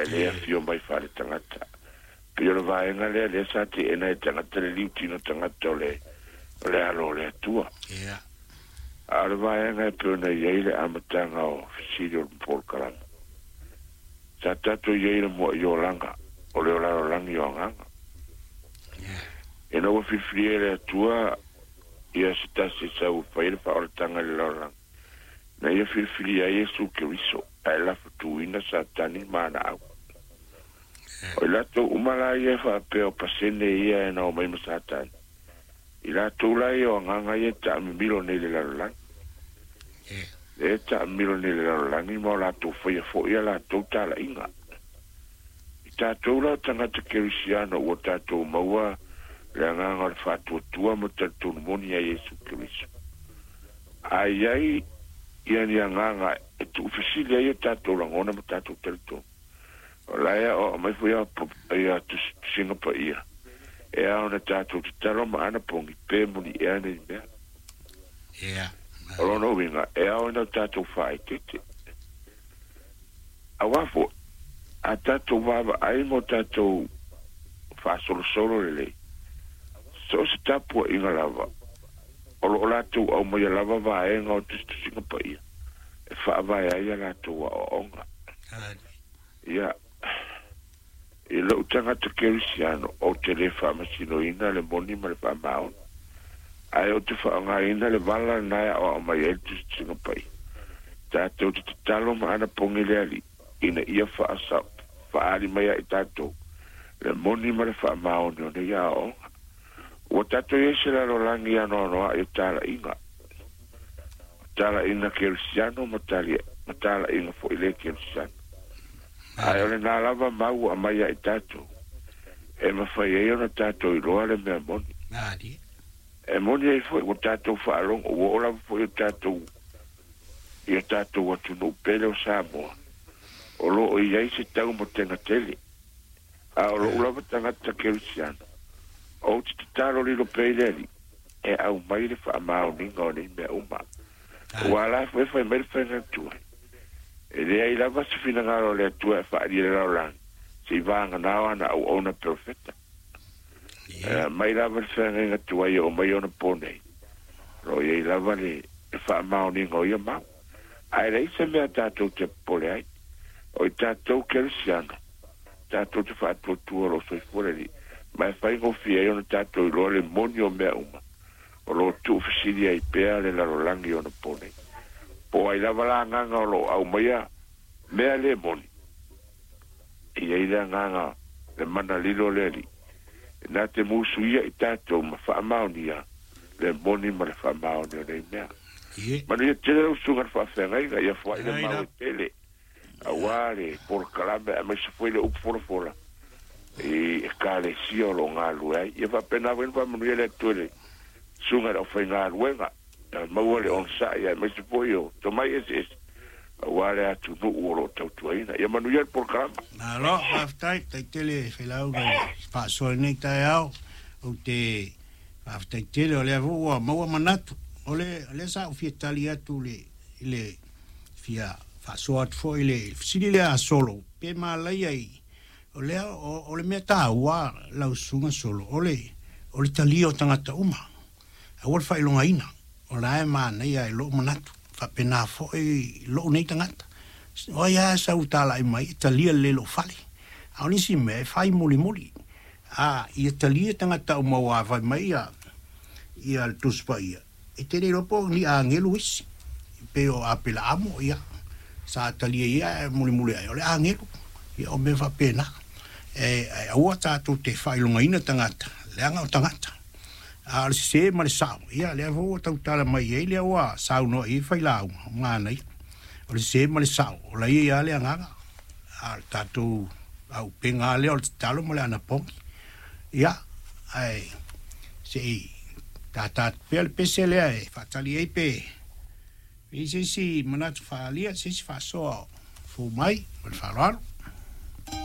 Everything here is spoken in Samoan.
Ae le afio mai faaletagata. Pei o le vaega lea lea sa teena e tagata le liutino tagata o le o le alo o le Atua. A o le vaega e pei ona i ai le amataga o fesili o le polokalame. Sa tatou i ai i le mua'i olaga o le olalolagi o agaga. Ina ua filifilia e le Atua ia se tasi e sau e fai le faaolataga i le lalolagi, na ia filifilia ai Iesu Keriso, ae lafotuina Satani ma ana au. O i latou uma la ia e faapea o pasene ia e na omai ma Satani, i latou la ia o agaga ia e taamimilo nei i le lalolagi. Lea e taamilo nei i le lalolagi ma o latou faia foi a latou talaiga. I tatou la o tagata kerisiano ua tatou maua le agaga o le faatuatua ma talitonu moni ia Iesu Keriso. A i ai ia ni agaga e tuufesili ai o tatou lagona ma tatou talitonu, o la e aoao mai foi ia Tusiga Paia, e ao ona tatou tatalo ma anapogi pe moni ea nei mea. O lona uiga, e ao ina o tatou faaeteete. Auā foi, a tatou vaavaai ma o tatou faasolosolo lelei, so o se tapuaiga lava, o lo o latou aumaia lava vaega o tusitusiga paia e faavae ai a latou aoaoga. Ia, i lou tagata kerisiano, ou te le faamasinoina le moni ma le faamaoni, ae ou te faaaogaina le vala lena e aoao mai ai le tusitusiga paia. Tatou te tatalo ma anapogi le Alii ina ia faaali mai ia i tatou le moni ma le faamaoni o nei aoaoga. Ua tatou i ai se lalolagi anoanoai o talaiga, o talaiga kerisiano ma talaiga foi le kerisiano. Ae o lena lava mau ua aumai ia i tatou, e mafai ai ona tatou iloa le mea moni. E moni ai foi ua tatou faalogo, ua oo lava foi o tatou i o tatou atunuu pele o Samoa, o lo o i ai se taumatega tele. A o lou lava tagata kerisiano, ou te tatalo lilo pea i le Alii e aumai le faamaoniga o nei mea uma. Ua ala foi e fai mai le faiga tuai. E leai lava se finagalo o le Atua e faaalia i le lalolagi, se i vagana o ana auauna perofeta. E mai lava le feagaiga tuai e oo mai ona po nei, o lo o i ai lava le faamaoniga o ia mau. Ae leai se mea tatou te popole ai. O i tatou kerisiano, tatou te faatuatua o lo o soifua le Alii, ma e faigofie ai ona tatou iloa le moni o mea uma, o lo o tuufesili ai pea le lalolagi ona po nei. Po o ai lava la agaga o lo o aumaia mea le moni, e i ai le agaga le mana lilo o le Alii, na te musuia i tatou ma faamaonia le moni ma le faamaoni o nei mea. Manuia tele lau susuga i le faafeagaiga, ia foai le mau e tele auā le polokalame aemaise foi le upu folafola i Ekalesia o lo o galulue ai. Ia faapena foi ona faamanuia le Atua i le susuga i le aufaigaluega, ia maua le onosai aemaise foi o tomai eseese aua le atunuu o lo o tautuaina. Ia manuia le polokalame. Malo, faafetai, faafetai tele Failauga i le faasoa i lenei taeao. Ou te faafetai tele o lea foi ua maua manatu. O le, o lea sa ou fia tali atu i le, i le fia faasoa atu foi i le fesili lea a Solo, pe malaia i, o lea, o, o le mea taua lau susuga Solo, o le, o le talia o tagata uma. Aua le faailogaina, o la e manaia i lou manatu, faapena foi lou nei tagata. O ai lava e sau talai mai, e talia lelei lou fale. A o nisi mea, e fai mulimuli. A ia talia tagata uma aua fai mai ia, ia le Tusi Paia, e te le iloa po o ni agelu isi, pei o Apelaamo, ia, sa talia ia ae mulimuli ae o le agelu. Ia o mea faapena. E, aua tatou te faailogaina tagata, leaga o tagata. A o le sese ma le sao, ia lea foi ua tautala mai i ai lea ua saunoa i ai failauga, o manaia. O le sese ma le sao, o la ia ia le agaga. A o le tatou auupega lava lea o le tatalo ma le anapogi. Ia, ae se i tata atu pea le pese lea e faatali ai pe i ai se isi manatu faaalia, se isi faasoa o fou mai ma le faaaloalo.